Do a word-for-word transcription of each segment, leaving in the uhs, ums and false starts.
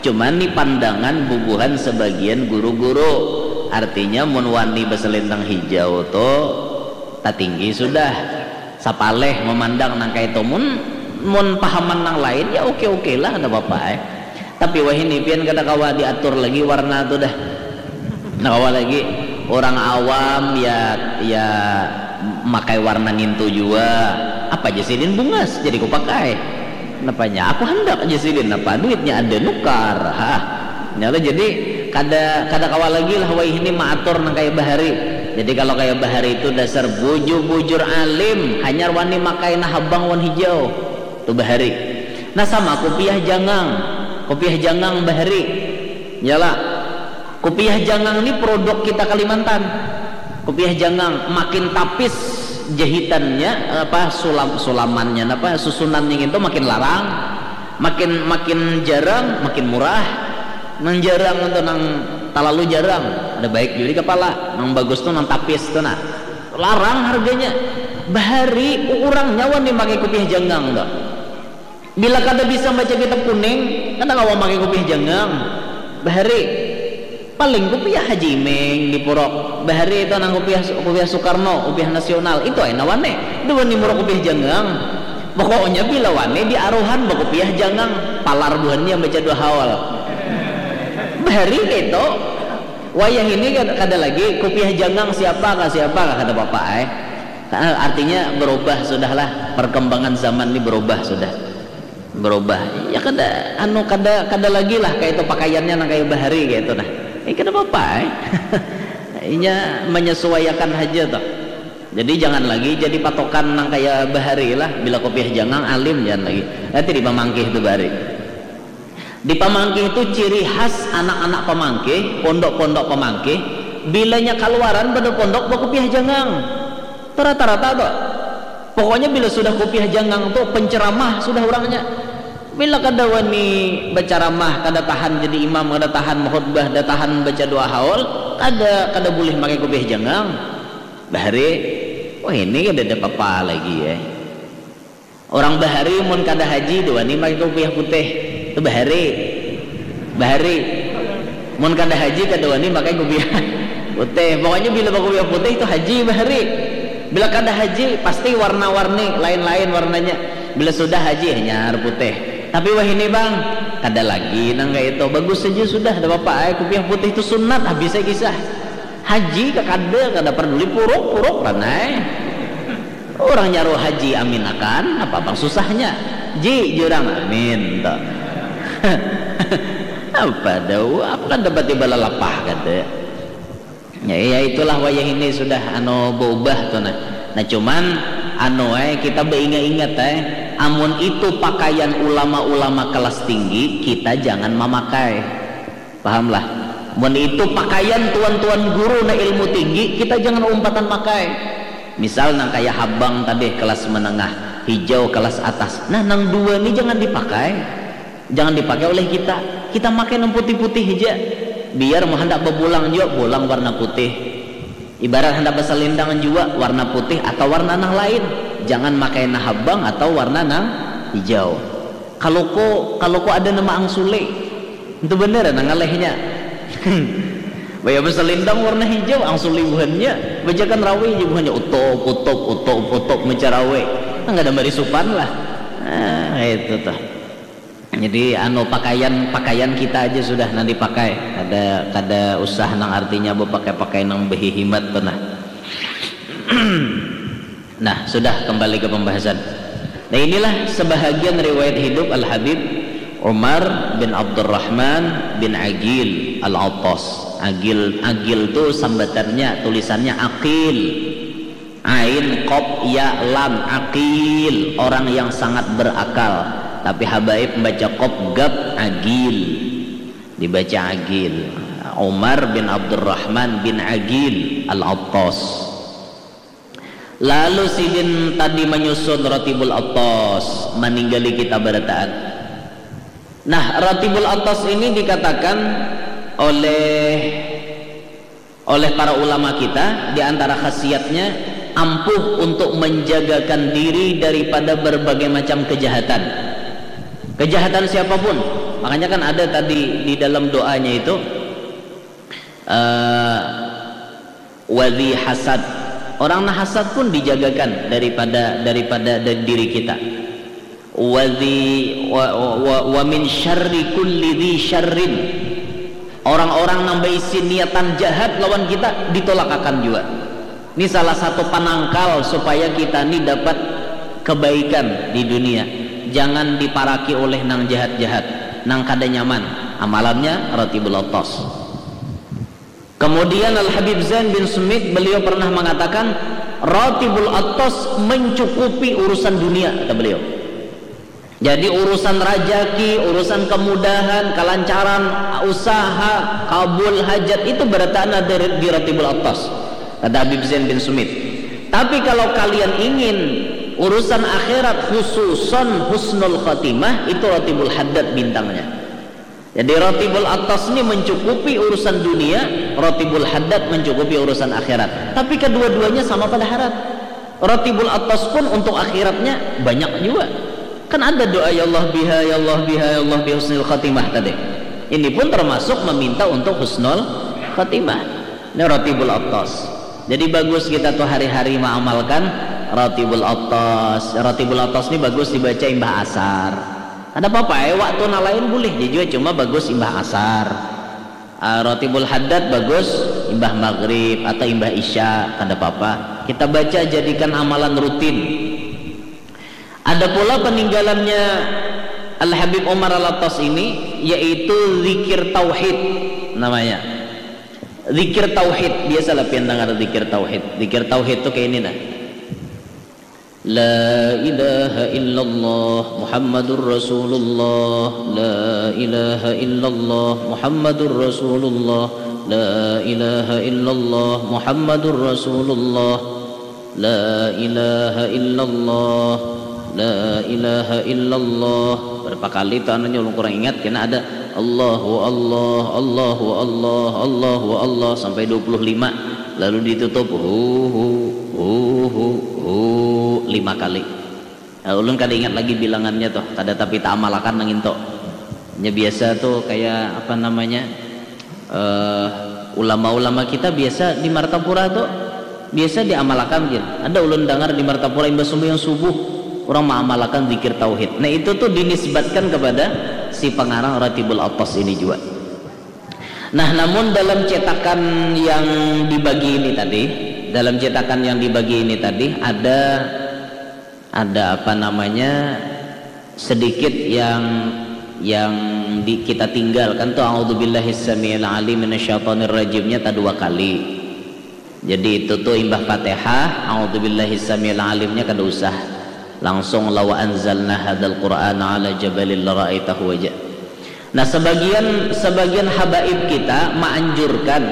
Cuman ni pandangan bubuhan sebagian guru-guru. Artinya mun wani baselendang hijau tu tatinggi sudah. Sapaleh memandang nang kaitu. Mun, mun pahaman nang lain ya oke-oke lah, kada apa-apa ai. Tapi wahini pian kada kawa diatur lagi warna tu dah. Kada kawa lagi. Orang awam ya, ya makai warna ngintu jua. Apa ja sidin bungas jadi kupakai. Napanya aku handak ja sidin, napa duitnya ada nukar. Hah. Nyata jadi kada, kada kawa lagi lah wayahini maatur nang kaya bahari. Jadi kalau kaya bahari itu dasar bujur-bujur alim, hanyar wani makai nah habang wan hijau. Tu bahari. Nah sama kupiah jangang. Kupiah jangang bahari. Yalah. Kupiah jangang ni produk kita Kalimantan. Kupiah jangang makin tapis jahitannya, apa, sulam, sulamannya, apa, susunannya gitu makin larang, makin, makin jarang, makin murah. Nang jarang tu nang talalu jarang, ada baik jua di kapala. Nang bagus tu nang tapis tu nah. Larang harganya. Bahari urang nyawa ni makai kupiah jangang tu. Bila kada bisa baca kitab kuning, kada kawa makai kupiah jangang. Bahari. Paling kupiah Haji Imeng di Purok. Bahari itu nang kupiah, kupiah Soekarno, kupiah nasional. Itu ai nawane. Dua ni muruk kupiah jangang. Pokoknya bila wane diaruhan bakupiah jangang, palar buhannya baca dua haul. Bahari itu. Wayah ini kada, kada lagi kupiah jangang siapa kah, siapa kah, kada apa-apa ai. Artinya berubah sudahlah, perkembangan zaman ini berubah sudah. Berubah. Ya kada, anu, kada, kada lagi lah kayak itu pakaiannya nang kayak bahari kayak itu nah. Eh, kada apa-apa ai. Inya menyesuaikan aja tuh. Jadi jangan lagi jadi patokan nang kayak bahari lah. Bila kopiah jangang alim jangan lagi. Nanti di pamangkih itu bahari. Di pamangkih itu ciri khas anak-anak pamangkih, pondok-pondok pamangkih, bilanya kaluaran pada pondok bakopiah jangang. Tuh rata-rata tuh. Pokoknya bila sudah kupiah jangang tu penceramah sudah urangnya. Bila kada wani bacaramah, kada tahan jadi imam, kada tahan makhutbah, kada tahan baca doa haul, kada, kada bulih makai kupiah jangang. Bahari, wah ini kada ada papa lagi ya. Orang bahari mun kada haji dua ni makai kupiah putih. Tu bahari. Bahari. Mun kada haji kada wani makai kupiah putih. Pokoknya bila bakupiah putih tu haji bahari. Bila kada haji pasti warna-warni lain-lain warnanya. Bila sudah haji hanyar putih. Tapi wahini bang, kada lagi nang kaya itu. Bagus saja sudah, ada apa ai. Kupiah putih tu sunat habis ai kisah. Haji kakada, kada perduli puruk, puruk ranai. Orang nyaruh haji amin akan apa bang susahnya. Ji jurang amin tu. Apa dau apa kan dapat ibalah lapah kada. Ya, ya itulah wayah ini sudah anu berubah tu nah. Nah cuman anu eh kita beringat-ingat eh amun itu pakaian ulama-ulama kelas tinggi kita jangan memakai. Pahamlah. Mun itu pakaian tuan-tuan guru na ilmu tinggi, kita jangan umpatan makai. Misal nang kaya habang tadi kelas menengah, hijau kelas atas. Nah, nang dua ni jangan dipakai. Jangan dipakai oleh kita. Kita makai nang putih-putih aja. Biar mau hendak bebulang juga, bulang warna putih. Ibarat hendak beselendang juga, warna putih atau warna nang lain. Jangan makai na habang atau warna nang hijau. Kalau ko, kalau ko ada nama angsuli, itu bener nang ngalehnya. Baya beselendang warna hijau, angsuli buhannya, bajakan rawi aja buhannya, utop, utop, utop, utop, mencarawe. Nang ada marisupan lah. Nah, itu tuh. Jadi anu pakaian, pakaian kita aja sudah nang dipakai. Kada, kada usah nang artinya bepakai-pakai nang behihimat tuh nah. Nah, sudah kembali ke pembahasan. Nah, inilah sebahagian riwayat hidup Al-Habib Umar bin Abdurrahman bin Agil Al-Attas. Agil, Agil tu sambatannya, tulisannya Akil. Ain, kop, ya, lam, Akil, orang yang sangat berakal. Tapi habaib membaca kop, gap, Agil. Dibaca Agil. Umar bin Abdurrahman bin Agil Al-Attas. Lalu sidin tadi menyusun Ratibul Attas, meninggali kita berataan. Nah, Ratibul Attas ini dikatakan oleh oleh para ulama kita di antara khasiatnya ampuh untuk menjagakan diri daripada berbagai macam kejahatan. Kejahatan siapapun, Makanya kan ada tadi di dalam doanya itu, eh, wadhi hasad. Orang nah hasad pun dijagakan daripada daripada dari diri kita. Wadhi wa, wa, wa, wa min syarri kulli dhi syarrin. Orang-orang nang baisi niatan jahat lawan kita ditolakakan jua. Ini salah satu panangkal supaya kita ni dapat kebaikan di dunia. Jangan diparaki oleh nang jahat-jahat, nang kada nyaman. Amalannya Ratibul Atas. Kemudian Al Habib Zain bin Sumit, beliau pernah mengatakan, Ratibul Atas mencukupi urusan dunia, kata beliau. Jadi urusan rajaki, urusan kemudahan, kelancaran, usaha, kabul hajat itu berataan ada di Ratibul Atas, kata Habib Zain bin Sumit. Tapi kalau kalian ingin urusan akhirat, khususon husnul khatimah, itu Ratibul Haddad bintangnya. Jadi Ratibul Atas ini mencukupi urusan dunia, Ratibul Haddad mencukupi urusan akhirat. Tapi kedua-duanya sama pada harat. Ratibul Atas pun untuk akhiratnya banyak juga. Kan ada doa, "Ya Allah biha, ya Allah biha, ya Allah bi husnil khatimah," tadi. Ini pun termasuk meminta untuk husnul khatimah. Ini Ratibul Atas. Jadi bagus kita tuh hari-hari mengamalkan Ratibul Atas. Ratibul Atas ini bagus dibaca imbah asar. Kada apa-apa, eh, waktu nang lain boleh ja jua, cuma bagus imbah asar. Ah, Ratibul Haddad bagus imbah maghrib atau imbah isya, kada apa-apa. Kita baca, jadikan amalan rutin. Ada pula peninggalannya Al Habib Umar Al Atas ini, yaitu zikir tauhid namanya. Zikir tauhid, biasalah pian dengar zikir tauhid. Zikir tauhid tuh kayak ini nah. La ilaha illallah Muhammadur Rasulullah. La ilaha illallah Muhammadur Rasulullah. La ilaha illallah Muhammadur Rasulullah. La ilaha illallah. La ilaha illallah. Berapa kali tuh anunya ulun kurang ingat, kena ada Allahu Allah, Allahu Allah, Allahu Allah sampai dua puluh lima. Lalu ditutup hu hu hu hu hu lima kali. Nah, ulun kada ingat lagi bilangannya tuh, kada tapi taamalakan nang itu. Nya biasa tuh kayak apa namanya, eh, ulama-ulama kita biasa di Martapura tuh biasa diamalakan gin. Ada ulun dengar di Martapura imbah sembahyang subuh orang mengamalkan zikir tauhid. Nah, itu tuh dinisbatkan kepada si pengarang Ratibul Atas ini juga. Nah, namun dalam cetakan yang dibagi ini tadi, dalam cetakan yang dibagi ini tadi ada ada apa namanya, sedikit yang yang di, kita tinggalkan tuh, "A'udzubillahi samiil alim minasyaitonir rajimnya" tak dua kali. Jadi itu tuh imbah Fatihah, "A'udzubillahi samiil alimnya" kada usah. Langsung "Law anzalna hadzal Qur'ana ala jabalin lara'aitahu" aja. Nah, sebagian sebagian habaib kita menganjurkan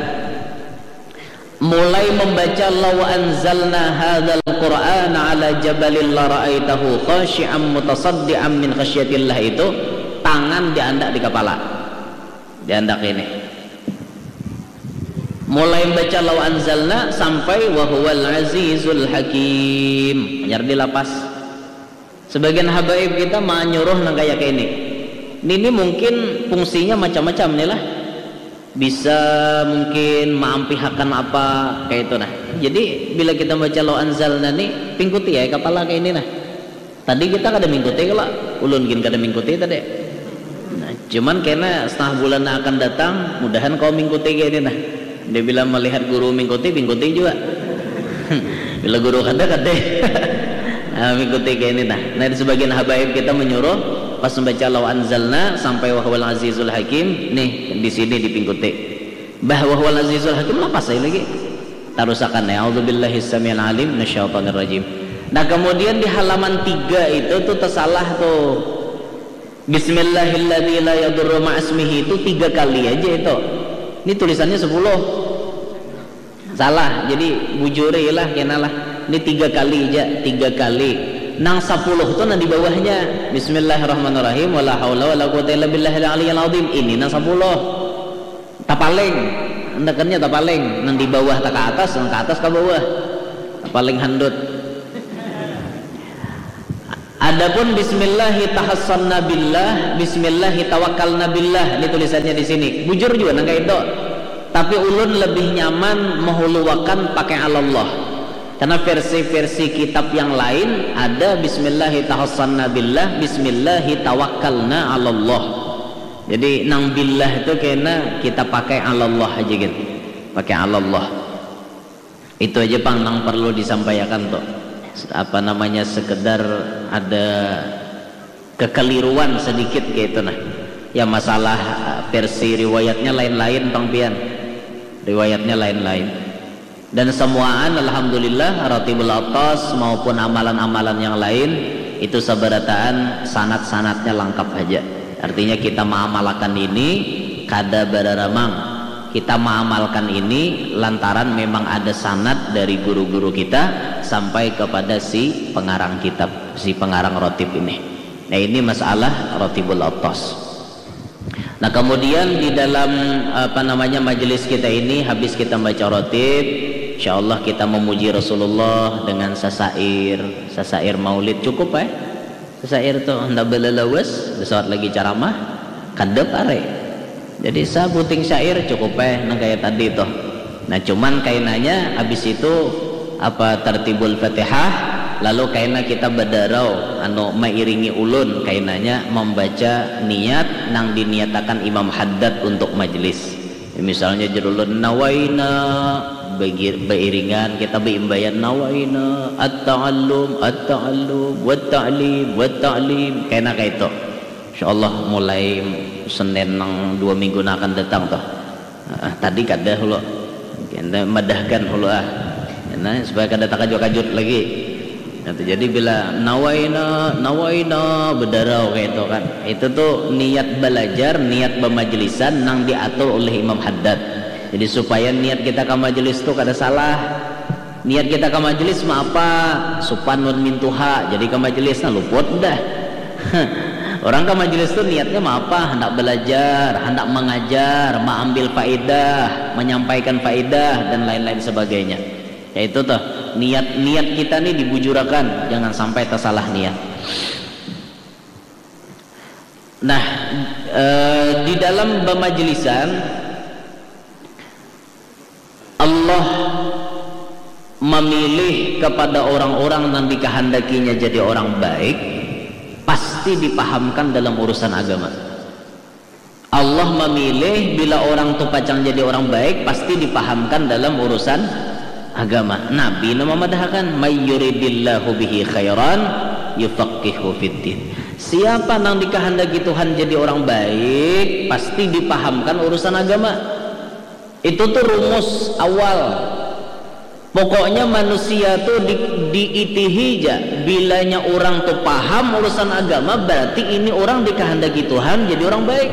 mulai membaca "Law anzalna hadzal Qur'ana ala jabalin lara'aitahu khasyi'am mutasaddi'am min khasyatillah" itu, tangan diandak di kepala. Diandak ini. Mulai membaca "Law anzalna" sampai "Wa huwal azizul hakim". Hanyar dilapas. Sebagian habaib kita manyuruh nang kaya ini. Ini mungkin fungsinya macam-macam nih lah. Bisa mungkin maampihakan apa kayak itu nah. Jadi bila kita baca "Law anzalna" nih, pingkuti ya kepala kayak ini nah. Tadi kita kada mingkuti kalau ulun gin kada mingkuti tadi. Nah, cuman kena setengah bulan yang akan datang, mudahan kau mingkuti kayak ini nah. Dia bila melihat guru mingkuti, mingkuti juga. Bila guru kada, kada. Nah, mingkuti kayak ini nah. Nah, di sebagian habaib kita menyuruh pas membaca "Law anzalna" sampai "Wa huwal azizul hakim", nih di sini dipingkuti. Bah, "Wa huwal azizul hakim" lapas saya lagi. Tarusakan ya, "A'udzubillahi samiil alim minasyaitonir rajim". Nah, kemudian di halaman tiga itu tuh tersalah tuh. "Bismillahilladzi la yadurru ma'asmihi" itu tiga kali aja itu. Ini tulisannya sepuluh. Salah, jadi bujuri lah, kenalah. Ini tiga kali aja, tiga kali. Nang sepuluh tuh nang di bawahnya. "Bismillahirrahmanirrahim. Wala haula wala quwata illa billahil aliyil azim." Ini nang sepuluh. Tapaling. Andakannya tapaling. Nang di bawah tak ke atas, nang ke atas ke bawah. Tapaling handut. Adapun bismillahi tahassanna billah, bismillahi tawakkalna billah, ini tulisannya di sini. Bujur juga nang kayak itu. Tapi ulun lebih nyaman mehuluakan pakai alallah. Karena versi-versi kitab yang lain ada bismillahi tahassanna billah, bismillahi tawakkalna alallah. Jadi nang billah itu kena kita pakai alallah aja gitu. Pakai alallah. Itu aja pang nang perlu disampaikan tuh. Apa namanya, sekedar ada kekeliruan sedikit kayak itu nah. Ya masalah eh, versi riwayatnya lain-lain pang pian. Riwayatnya lain-lain. Dan semuaan alhamdulillah Ratibul Atas maupun amalan-amalan yang lain itu seberataan sanat-sanatnya lengkap aja. Artinya kita mengamalkan ini kada bararamang. Kita mengamalkan ini lantaran memang ada sanat dari guru-guru kita sampai kepada si pengarang kitab, si pengarang rotib ini. Nah, ini masalah Rotibul Atas. Nah, kemudian di dalam apa namanya majelis kita ini habis kita baca rotib, insya Allah kita memuji Rasulullah dengan sasair, sasair maulid cukup eh. Sasair tuh hendak belelawas, besawat lagi ceramah, kada pare. Jadi sabuting syair cukup eh nang kayak tadi tuh. Nah, cuman kainanya habis itu apa tartibul Fatihah, lalu kaina kita badarau anu mairingi ulun kainanya membaca niat nang diniatakan Imam Haddad untuk majlis. Misalnya jar ulun nawaina, bagi- bairingan kita baimbayan nawaina at-ta'allum at-ta'allum wat-ta'lim wat-ta'lim kaina kaitu. Insyaallah mulai Senin nang dua minggu nang akan datang tuh. Ah, tadi kada hulu. Kena madahkan hulu ah. Nah, supaya kada takajut-kajut lagi. Nah, jadi bila nawaina, nawaina bedarau kayak itu kan. Itu tuh niat belajar, niat pemajelisan nang diatur oleh Imam Haddad. Jadi supaya niat kita ke majelis tuh kada salah. Niat kita ke majelis mah apa? Supan wan mintuha. Jadi ke majelis nah luput dah. Orang ke majelis tuh niatnya mah apa? Hendak belajar, hendak mengajar, mengambil faedah, menyampaikan faedah dan lain-lain sebagainya. Ya itu tuh niat-niat kita nih dibujurakan, jangan sampai tersalah niat. Nah, eh, di dalam pemajelisan Allah memilih kepada orang-orang yang dikehendakinya jadi orang baik, pasti dipahamkan dalam urusan agama. Allah memilih bila orang tu pacang jadi orang baik pasti dipahamkan dalam urusan agama. Nabi nama madahakan may yuridillahu bihi khairan yufaqihu fiddin. Siapa nang dikehendaki Tuhan jadi orang baik pasti dipahamkan urusan agama. Itu tuh rumus awal. Pokoknya manusia tuh di, diitihi ja. Bilanya orang tuh paham urusan agama, berarti ini orang dikehendaki Tuhan jadi orang baik.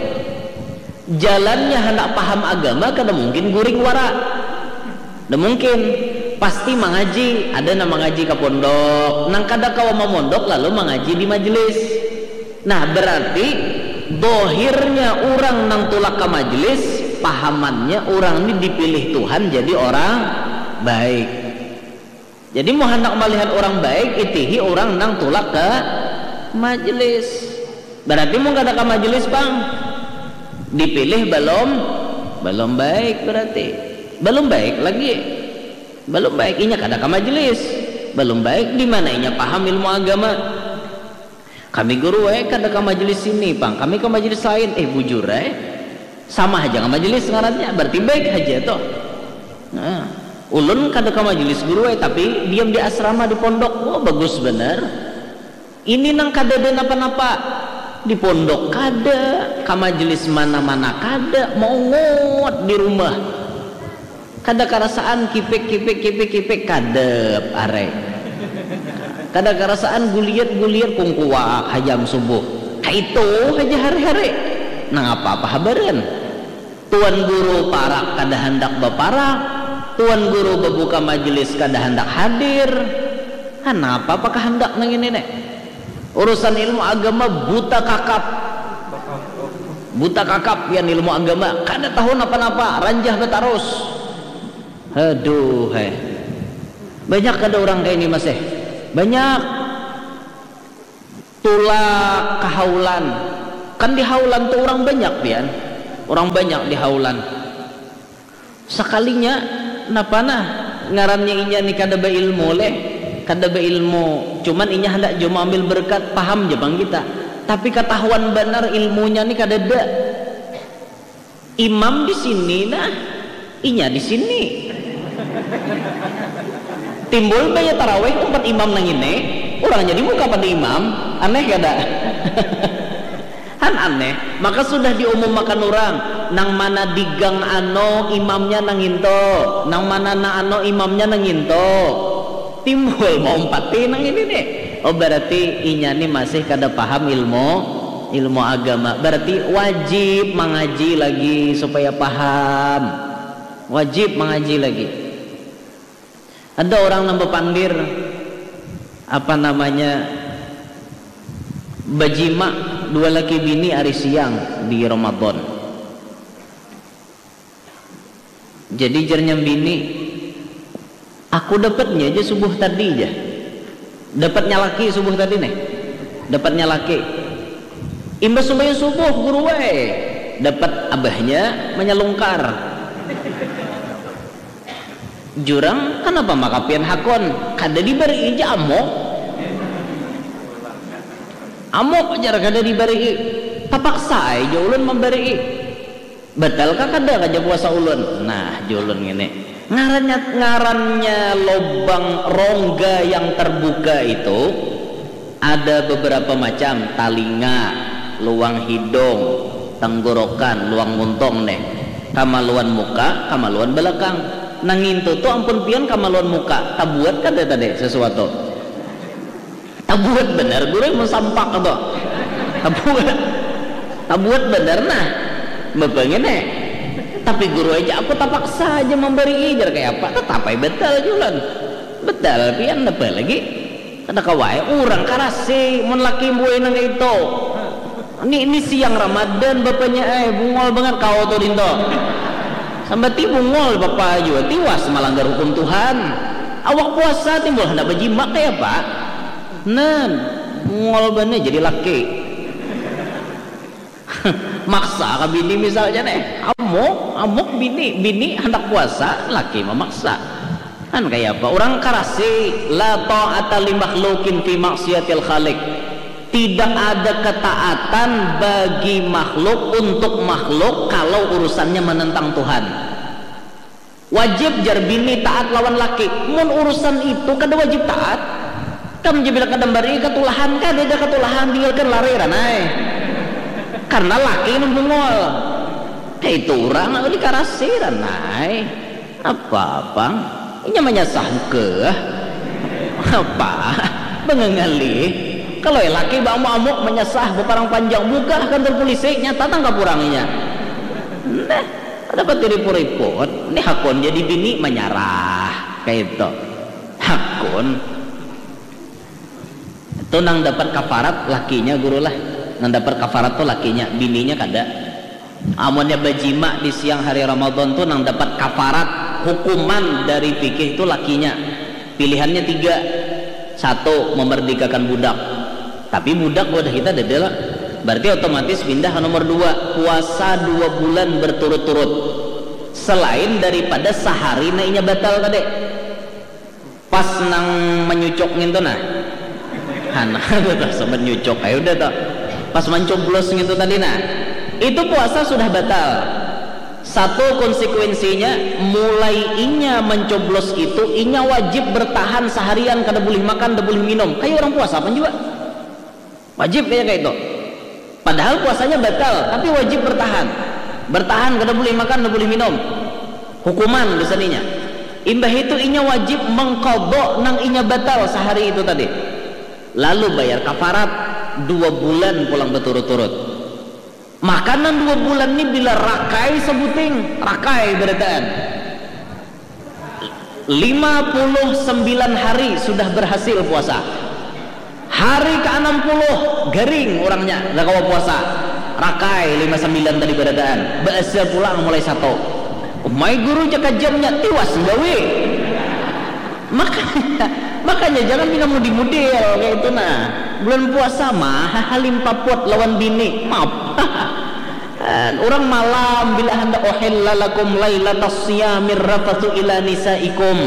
Jalannya hendak paham agama kada mungkin guring wara. Kada mungkin. Pasti mangaji, ada nang mangaji ke pondok, nang kada kawa mamondok lalu mangaji di majelis. Nah, berarti dohirnya orang nang tulak ke majelis, pahamannya orang ini dipilih Tuhan jadi orang baik. Jadi mau hendak melihat orang baik, itihi orang nang tulak ke majelis. Berarti mau kada ke majelis pang, dipilih belum, belum baik berarti, belum baik lagi, belum baik inya kada ke majelis, belum baik di mana inya paham ilmu agama. Kami guru eh kada ke majelis sini pang, kami ke majelis lain. Eh bujur eh, sama aja ke majelis ngarannya, berarti baik aja tuh. Nah, ulun kada ke majelis guru eh, tapi diam di asrama di pondok, wah bagus bener. Ini nang kada ada napa-napa, di pondok kada, ke majelis mana-mana kada, mau ngot di rumah. Kada karasaan kipik kipik kipik kipik kadep arai. Kada karasaan guliat guliat kungkuak hajam subuh. Kaitu haja hari-hari. Nang apa-apa habaran. Tuan guru parak kada handak baparak. Tuan guru babuka majelis kada handak hadir. Hanapa apa kahandak nang ini nih? Urusan ilmu agama buta kakap. Buta kakap yang ilmu agama, kada tahu napa-napa, ranjah batarus. Aduh hai. Banyak kada orang kayak ini masih. Banyak. Tulak ka haulan. Kan di haulan tu urang banyak pian. Urang banyak di haulan. Sakalinya napa nah ngarannya inya ni kada bailmu leh. Kada bailmu. Cuman inya handak jua maambil berkat, paham ja pang kita. Tapi katahuan banar ilmunya ni kadada. Imam di sini nah, inya di sini. Timbul baya tarawih umpat imam nang ini, urangnya di muka pada imam, aneh kada? Han aneh. Maka sudah diumumakan urang, nang mana di gang ano imamnya nang nginto, nang mana nang ano imamnya nang nginto. Timbul maumpati nang ini nih. Oh, berarti inya ni masih kada paham ilmu ilmu agama. Berarti wajib mangaji lagi supaya paham. Wajib mangaji lagi. Ada orang nang bapandir apa namanya bajima dua laki bini ari siang di Ramadan. Jadi jarnya bini, aku dapatnya aja subuh tadi aja. Dapatnya laki subuh tadi nih. Dapatnya laki. Imbah sumbayang subuh guru wae. Dapat abahnya menyelungkar. Jurang, kenapa maka pian hakon? Kada dibari aja amok. Amok jar kada dibari. Tapaksa aja ulun memberi. Batal kah kada kaja puasa ulun? Nah, julun ngini. Ngarannya ngarannya lobang rongga yang terbuka itu ada beberapa macam, talinga, luang hidung, tenggorokan, luang muntung nih. Kamaluan muka, kamaluan belakang. Nang ngintu tu ampun pian kamaluan muka, tabuat kada tadi sesuatu? Tabuat banar guru mun sampak tu. Tabuat. Tabuat banar nah. Bapa ngini. Tapi guru aja aku tapaksa aja mambari jar kaya apa. Tatap ai batal julan. Batal pian napa lagi. Kada kawa ai urang karasi mun laki buai nang kaitu. Ni, ni siang Ramadan bapanya ai bungol bangat kau tu dinto. Sambati bungol bapa jua tiwas malanggar hukum Tuhan. Awak puasa timbul handak bajima kaya apa. Nan, mungol banar jadi laki. Maksa ka bini misalnya nih. Amuk, amuk bini, bini handak puasa, laki mamaksa. Kan kaya apa? Orang karasi, la ta'ata li makhlukin fi maksiatil khaliq. Tidak ada ketaatan bagi makhluk untuk makhluk kalau urusannya menentang Tuhan. Wajib jar bini taat lawan laki. Mun urusan itu kada wajib taat. Kam ja bila kada mambari katulahan, kada ada katulahan, tinggalkan lari ranai. Karena laki nang bungol. Kaitu urang nang dikarasi ranai. Apa pang? Inya manyasah kah? Apa? Bangangalih. Kalau laki baamuk-amuk manyasah baparang panjang, bukah kantor polisi, nyata tangkap urang inya. Nah. Kada pati riput-riput, ni hakun jadi bini manyarah kaitu. Hakun. Tu nang dapat kafarat lakinya guru lah. Nang dapat kafarat tu lakinya, bininya kada. Amunnya bajima di siang hari Ramadan tu nang dapat kafarat hukuman dari fikih tu lakinya. Pilihannya tiga. Satu, memerdekakan budak. Tapi budak wadah kita dada lah. Berarti otomatis pindah ke nomor dua, puasa dua bulan berturut-turut. Selain daripada sahari na inya batal tadi. Pas nang menyucuk ngintu nah. Hana tuh sambat nyucuk ayo udah tuh. Pas mencoblos ngintu tadi nah. Itu puasa sudah batal. Satu konsekuensinya, mulai inya mencoblos itu, inya wajib bertahan seharian, kada boleh makan, kada boleh minum. Kayak orang puasa apa juga? Wajib kayak kayak itu. Padahal puasanya batal, tapi wajib bertahan. Bertahan, kada boleh makan, kada boleh minum. Hukuman biasanya. Imbah itu inya wajib mengkodok nang inya batal sehari itu tadi. Lalu bayar kafarat dua bulan pulang berturut-turut. Makanan dua bulan ni bila rakai sabuting, rakai barataan. Lima puluh sembilan hari sudah berhasil puasa. Hari ke enam puluh garing orangnya, nggak kawa puasa. Rakai lima sembilan tadi barataan, baasa pulang mulai satu. Umai guru jaka jamnya tiwas gawi. Makanya, Makanya jangan pina mudi-mudil kayak itu nah. Bulan puasa mah halimpaput lawan bini. Maaf. Orang malam bila hendak uhilla lakum lailatas siyamir rafathu ila nisaikum.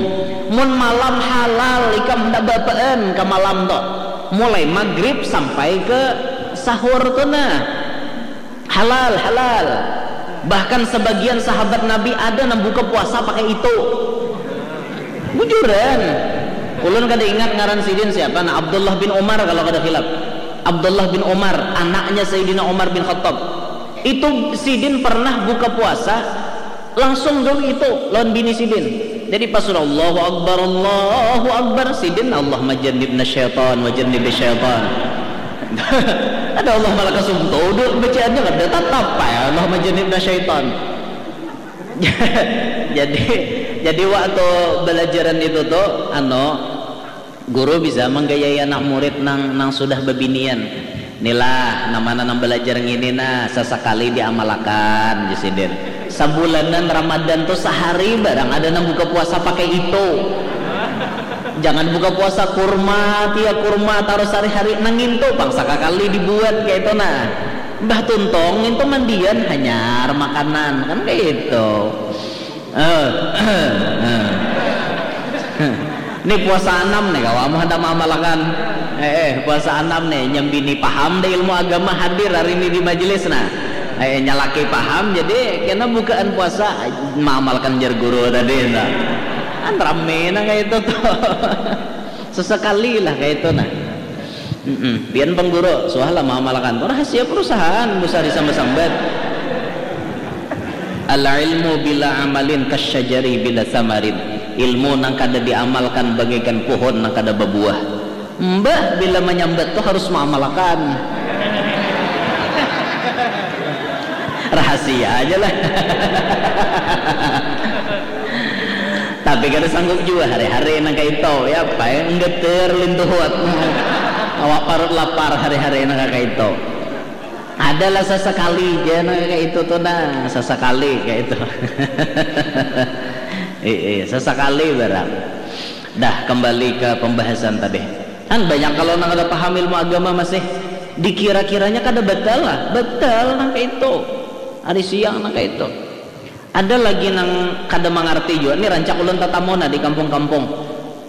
Mun malam halal ikam hendak bapaan ke malam tu. Mulai maghrib sampai ke sahur tu nah. Halal, halal. Bahkan sebagian sahabat Nabi ada nang buka puasa pakai itu. Bujuran. Ulun kada ingat ngaran sidin siapa. Nah, Abdullah bin Umar kalau kada khilaf. Abdullah bin Umar, anaknya Sayyidina Umar bin Khattab. Itu sidin pernah buka puasa langsung dong itu lawan bini sidin. Jadi pas sudah Allahu Akbar, Allahu Akbar, sidin Allahumma jannibna syaitan wa jannibi syaitan. Ada Allah malah kasum tuh bacaannya kada tatap ya Allahumma jannibna syaitan. Jadi jadi waktu belajaran itu tuh anu guru bisa manggayai anak murid nang nang sudah babinian. Nilah namana nang belajar ngini nah sasakali diamalakan di sidin. Sabulanan Ramadan tuh sahari barang ada nang buka puasa pakai itu. Jangan buka puasa kurma tia kurma tarus hari-hari nang itu pang sakakali dibuat kayak itu nah. Mbah tuntong itu mandian hanyar makanan kan kayak itu. Eh, eh. Ni puasa anam nih kawa amuh handak maamalakan. Eh, eh, puasa anam nih nyambini paham deh ilmu agama hadir hari ini di majelis nah. Eh, nyalaki paham jadi kena bukaan puasa maamalkan jar guru tadi nah. Kan rame nah kayak itu tuh. Sesekali lah kayak itu nah. Mm-mm. Pian pengguru, suah lah maamalakan. Rahasia perusahaan, usah disambat-sambat. Al ilmu bila amalin kasyajari bila samarin. Ilmu nang kada diamalkan bagaikan pohon nang kada babuah. Mbah bila manyambat tu harus maamalakan. Rahasia aja lah. Tapi kada sanggup jua hari-hari nang kaitu ya apa ya nggeter lintuhut awak parut lapar hari-hari nang kaitu. Adalah sesekali ja nang kaitu tu nah sesekali kaitu. Iya sesekali barang. Dah kembali ke pembahasan tadi. Kan banyak kalau nang kada paham ilmu agama masih dikira-kiranya kada betul lah, betul nang kaitu. Hari siang nang kaitu. Ada lagi nang kada mangarti jua ni rancak ulun tatamu nah di kampung-kampung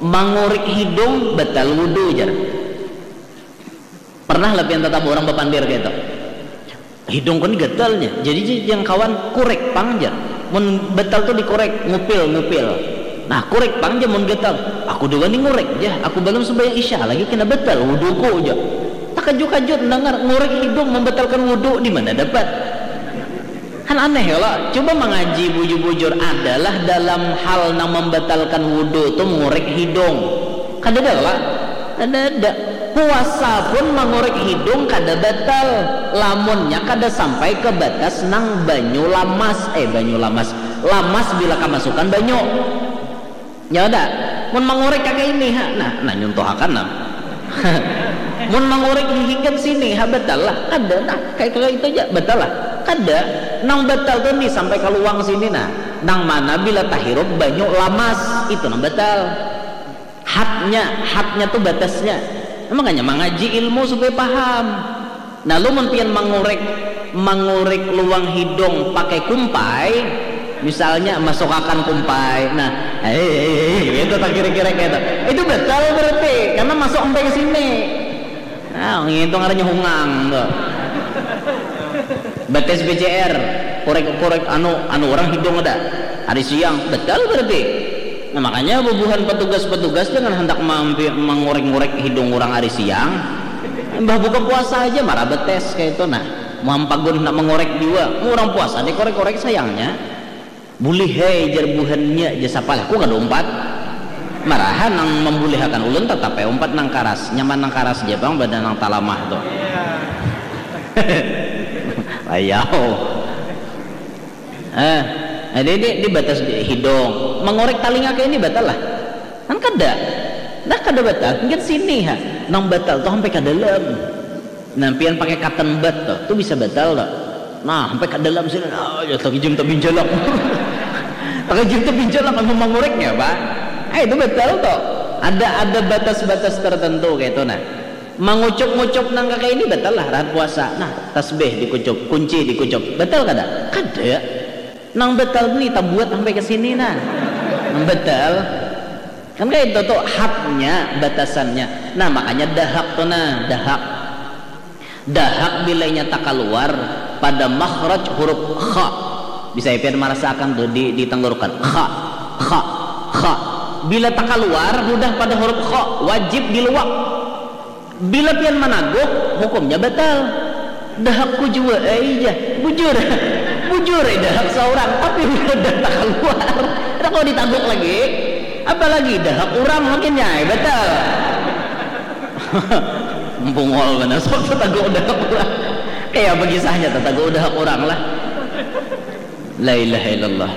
mangurik hidung batal wudu jar. Pernah lah pian tatamu urang bapandir kaitu. Hidungku ni gatal nya, jadi jang kawan kurek pang jar. Mun batal tu dikurek, ngupil ngupil. Nah kurek pang jar mun gatal. Aku da wani ngurek jar, aku balum sumbayang isya lagi kena batal wuduku jar. Takajut-kajut mandangar ngurek hidung mambatalkan wudu dimana dapat. Kan aneh kalo, cuba mangaji bujur-bujur adalah dalam hal nang mambatalkan wudu tu mangurek hidung. Kadada kalo? Kadada. Puasa pun mangurek hidung kada batal lamunnya kada sampai ka batas nang banyu lamas, eh banyu lamas, lamas bila kamasukan banyu. Nya ada. Mun mangurek kaka ini ha, nah, nah nyuntuhakan nah. Mun mangurek hihingkan sini ha batal lah. Kada nah, kayak kaka itu aja batal lah. Kada. Nang batal tu nih sampai ka luang sini nah. Nang mana bila tahirup banyu lamas, itu nang batal. Hatnya, hatnya tu batasnya. Makanya mangaji ilmu supaya paham. Nah lu mun pian mangurek mangurek luang hidung pakai kumpai, misalnya masukakan kumpai, nah hei hei hei gitu tak kira-kira gitu, itu betul berarti karena masuk sampai ke sini. Nah ngitu ngarannya hungang tuh. Bates B C R, korek-korek anu anu orang hidung ada hari siang, betul berarti. Nah makanya bubuhan petugas-petugas jangan hendak mampi mangurek-ngurek hidung orang hari siang. Mbah buka puasa aja marah betes kayak itu nah. Muhampagun nak mengorek jua. Mu orang puasa dikorek-korek sayangnya. Bulih hei jar buhannya jar sapa lah. Ku kada umpat. Marahan nang membulihakan ulun tetap ai umpat nang karas. Nyaman nang karas ja pang pada nang talamah tu. Ayau. Eh, jadi di, di batas hidung. Mengorek talinga kayak ini batal lah. Kan kada. Nah kada batal, mungkin sini ha. Nang batal tuh sampai ke dalam. Nah, pian pakai cotton bud tuh, tuh bisa batal tuh. Nah, sampai ke dalam sini, nah, ya tak izin tapi jalak. Tak izin tapi jalak sama manguriknya, Pak. Eh, itu batal tuh. Ada ada batas-batas tertentu kayak itu nah. Mengucup-ngucup nang kayak ini batal lah rahat puasa. Nah, tasbih dikucup, kunci dikucup, batal kada? Kada. Nang batal ni tabuat sampai ke sini nah. Nang batal. Kan kayak itu tuh hadnya, batasannya. Nah, makanya dahak tuh nah, dahak. Dahak bila nyata kaluar pada makhraj huruf kha. Bisa pian marasakan tuh di, di tenggorokan. Kha, kha, kha. Bila takaluar hudah pada huruf kha, wajib diluak. Bila pian managuk, hukumnya batal. Dahakku jua ai jar. Bujur. Bujur ai dahak saurang, tapi bila dah takaluar, kada kawa ditaguk lagi. Apalagi dahak urang makin nya ai batal. Bungol banar sok tataguk dahak urang. Kaya apa kisahnya tataguk dahak urang lah. La ilaha illallah.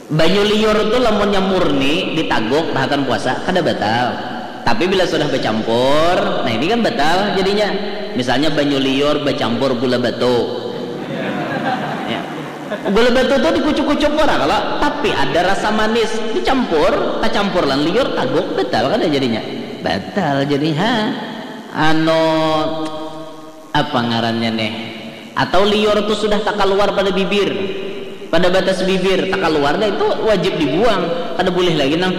Banyu liur tu lamunnya murni ditaguk tahakan puasa kada batal. Tapi bila sudah bacampur, nah ini kan batal jadinya. Misalnya banyu liur bacampur gula batu. Ya. Gula batu tu dikucuk-kucuk ora kalo, tapi ada rasa manis dicampur, tacampur lan liur taguk batal kada jadinya. Batal jadinya. Ha. Anu apa ngarannya nih? Atau liur tu sudah takaluar pada bibir, pada batas bibir takaluar dah itu wajib dibuang, kada boleh lagi nang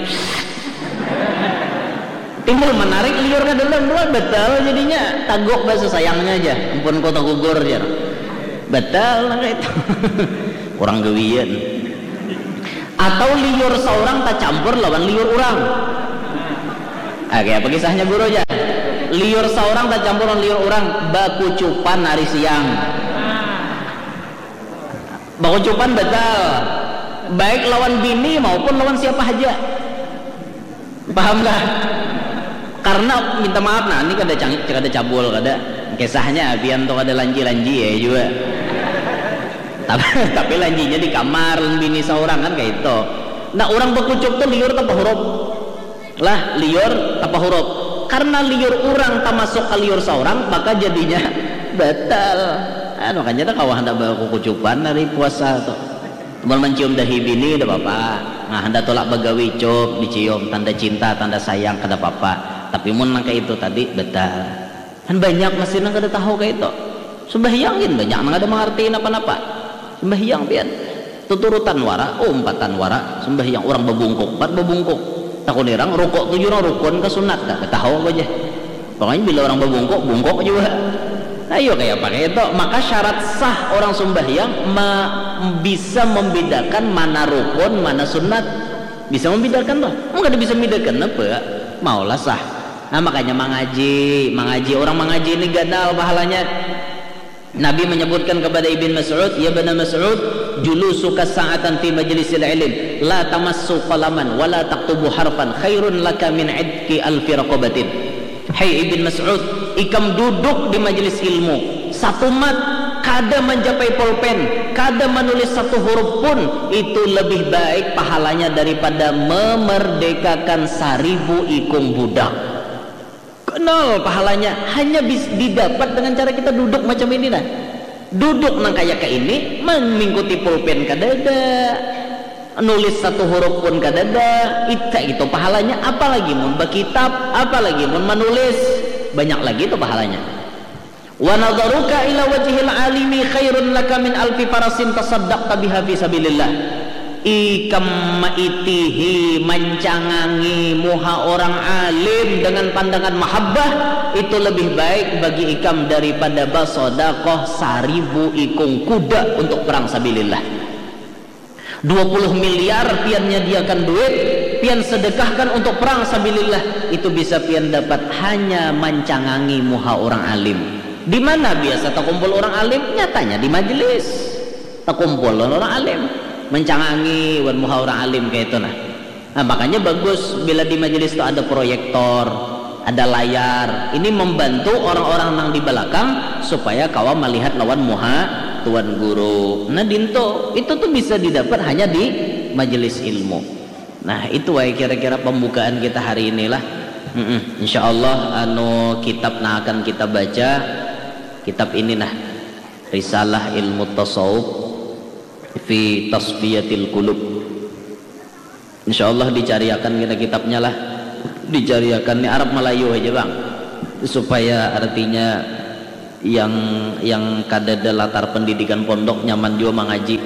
timbul menarik liur ke dalam dua batal jadinya tagok bahasa sayangnya aja ampun kau tagugur jar batal nang itu orang gawian atau liur seorang tak campur lawan liur orang. Oke, apa kisahnya guru aja? Liur seorang tak campur lawan liur orang bakucupan hari siang. Bakucupan betul. Baik lawan bini maupun lawan siapa saja. Paham kah? Karena minta maaf nah, ini kada cangit, kada cabul, kada kisahnya abian tuh kada lanji-lanji ya juga. Tapi, tapi lanjinya di kamar bini seorang kan kayak itu. Nah, orang bakucup tuh liur tanpa huruf. Lah liur apa huruf karena liur urang tamasuk ka liur saurang maka jadinya batal. Ah, makanya dah kawa handak bakukucupan hari puasa tu. Mun mancium dahi bini dah apa-apa. Nah, handak tulak bagawi cup dicium tanda cinta tanda sayang kada apa-apa. Tapi mun nang kaya itu tadi batal. Kan banyak masih nang kada tahu kaya itu. Sembahyang gin banyak nang kada mangarti napa-napa. Sembahyang pian. Tuturutan wara, umpatan wara, sembahyang urang babungkuk, pat babungkuk. Takun irang, rukuk tu jua urang rukun ka sunat, kada tahu aku ja. Pokoknya bila urang babungkuk, bungkuk jua. Ayo kaya apa kaya itu. Maka syarat sah orang sembahyang ma, bisa membedakan mana rukun, mana sunat. Bisa membedakan tuh. Mun kada bisa membedakan apa? Maulah sah. Nah, makanya mangaji, mangaji orang mangaji ini ganal pahalanya. Nabi menyebutkan kepada Ibn Mas'ud, "Ya Ibn Mas'ud, julusuka sa'atan fi majlisil ilm, la tamassu qalaman wa la taktubu harfan khairun laka min idki alfi raqabatin." Hai Ibn Mas'ud, ikam duduk di majelis ilmu, satu mat, kada mencapai pulpen, kada menulis satu huruf pun, itu lebih baik pahalanya daripada memerdekakan saribu ikung budak. Kenal pahalanya hanya bis, didapat dengan cara kita duduk macam ini nah. Duduk nang kaya ke ini, mengikuti pulpen kadada, nulis satu huruf pun kadada, ita itu pahalanya apalagi mun bakitab, apalagi mun manulis, banyak lagi itu pahalanya. Wa nadharuka ila wajhil alimi khairun laka min alfi farasin tasaddaqta biha fi sabilillah. Ikam maitihi mancangangi muha orang alim dengan pandangan mahabbah itu lebih baik bagi ikam daripada basodakoh saribu ikung kuda untuk perang sabilillah. Dua puluh miliar pian nyadiakan duit, pian sedekahkan untuk perang sabilillah, itu bisa pian dapat hanya mancangangi muha orang alim. Di mana biasa takumpul orang alim? Nyatanya di majelis. Takumpul lawan orang alim. Mancangangi wan muha orang alim kaya itu nah. Nah, makanya bagus bila di majelis tu ada proyektor, ada layar. Ini membantu orang-orang nang di balakang supaya kawa malihat lawan muha tuan guru. Nah, dinto itu tu bisa didapat hanya di majelis ilmu. Nah, itu wae kira-kira pembukaan kita hari inilah. Mm-mm. Insya Allah anu kitab nang akan kita baca kitab ini nah Risalah Ilmu Tasawuf fi Tasfiyatil Qulub. Insya Allah dicariakan kena kitabnya lah. Dicariakan ni Arab Melayu aja bang, supaya artinya yang yang kadada latar pendidikan pondok nyaman juga mangaji,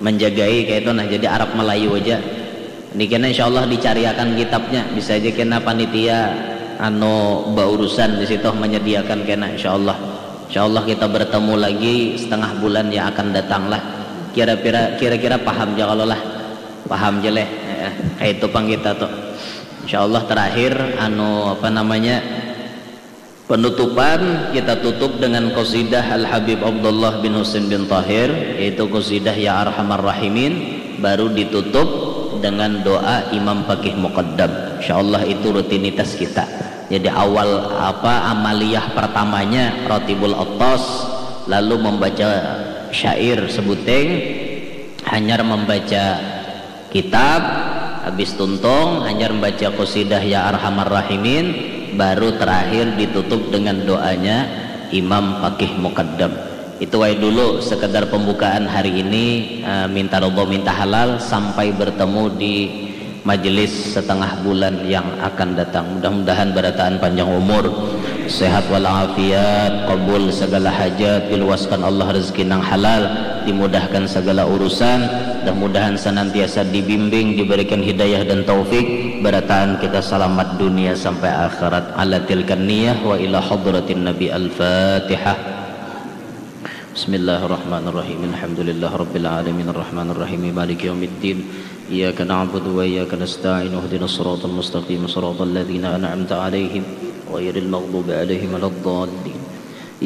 menjagai kayak itu nah. Jadi Arab Melayu aja. Ini kena insya Allah dicariakan kitabnya, bisa aja kena panitia anu baurusan di situ menyediakan kena insya Allah. Insya Allah kita bertemu lagi setengah bulan yang akan datang lah. Kira-kira kira-kira paham aja kalau lah. Paham je leh. Heeh, kayak itu pang kita tuh. Insya Allah terakhir anu apa namanya penutupan kita tutup dengan qasidah Al Habib Abdullah bin Husin bin Tahir, yaitu qasidah Ya Arhamar Rahimin, baru ditutup dengan doa Imam Fakih Muqaddam. Insya Allah itu rutinitas kita. Jadi awal apa amaliyah pertamanya Rotibul Atas, lalu membaca syair sebuteng, hanyar membaca kitab, habis tuntung hanyar membaca qasidah Ya Arhamar Rahimin, baru terakhir ditutup dengan doanya Imam Fakih Muqaddam. Itu wae dulu sekedar pembukaan hari ini, eh, minta ridho minta halal sampai bertemu di majelis setengah bulan yang akan datang. Mudah-mudahan barataan panjang umur, sehat walafiat, kabul segala hajat, diluaskan Allah rezeki nang halal, dimudahkan segala urusan. Mudah-mudahan senantiasa dibimbing, diberikan hidayah dan taufik, barataan kita salamat dunia sampai akhirat. Ala tilkan niyah wa ila hadratin Nabi. Al-Fatihah. Bismillahirrahmanirrahim. Alhamdulillah Rabbil Alamin. Ar-Rahmanirrahim. Maliki yaumiddin. Iyyaka na'budu wa iyyaka nasta'in. Ihdinas siratal mustaqim. Siratal ladzina an'amta alaihim. Ghairil maghdubi alaihim waladdallin.